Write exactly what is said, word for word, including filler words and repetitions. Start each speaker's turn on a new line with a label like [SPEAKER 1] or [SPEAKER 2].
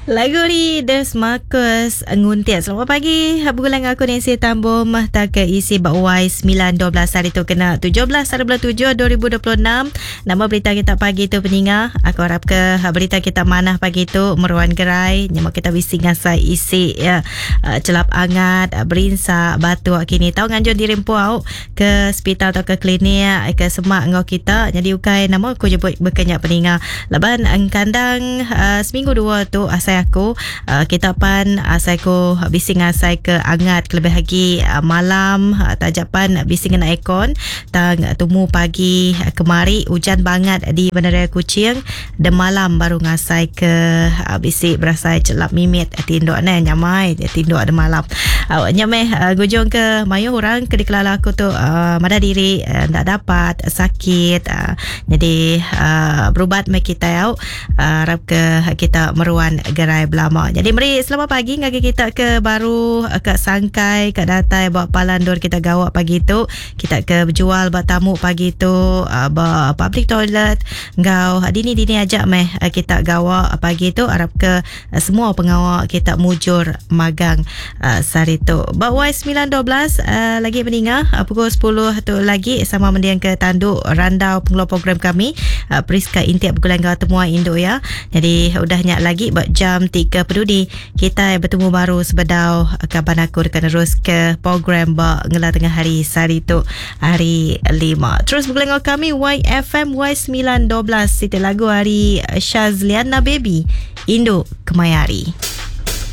[SPEAKER 1] Lagu ni Des Marcus Nguntit. Selamat pagi. Bergulang aku Nancy Tambom tak ke isi bak Y sembilan dua belas hari tu kena tujuh belas hari bulan tujuh dua ribu dua puluh enam. Nama berita kita pagi tu peninga. Aku harap ke berita kita manah pagi tu meruan gerai. Nyamak kita bisi ngasai isi ya, celap angat, berinsa, batuk kini. Tahu nganjur diri empu ke hospital atau ke klinik ke semak ngau kita. Jadi ukai nama aku jemput berkenyak peninga. Laban kandang uh, seminggu dua tu asai aku uh, kita pan asai ku bising asai ke angat kelebih lagi uh, malam uh, tajapan bising kena aircon tang tumu pagi uh, kemari hujan banget di Bandaraya Kuching de malam baru ngasai ke uh, bisik berasai celap mimit uh, tinduk ne nyamai tinduk de malam uh, nyameh uh, gujung ke mayu orang ke dikelala aku tu uh, mada diri uh, ndak dapat sakit uh, jadi uh, berubat me kita au uh, harap ke kita meruan gerai belama. Jadi meri selamat pagi ngagi kita ke baru ke Sangkai ke datai buat palandur kita gawak pagi tu kita ke berjual buat tamu pagi tu uh, buat public toilet ngau dini-dini ajak meh kita gawak pagi tu harap ke semua pengawak kita mujur magang uh, sehari tu. Bak Y sembilan dua belas uh, lagi meningah uh, pukul sepuluh tu lagi sama mendiang ke tanduk randau pengeluar program kami uh, Priska Intiap bergulang gau temuai induk ya. Jadi udah nyak lagi buat jam tiga peduli kita bertemu baru sebedau kaban aku dekat terus ke program bak ngela tengah hari sehari tu hari lima. Terus bergulang kami Y F M Y sembilan dua belas siti lagu hari Shazliana Baby Induk Kemayari.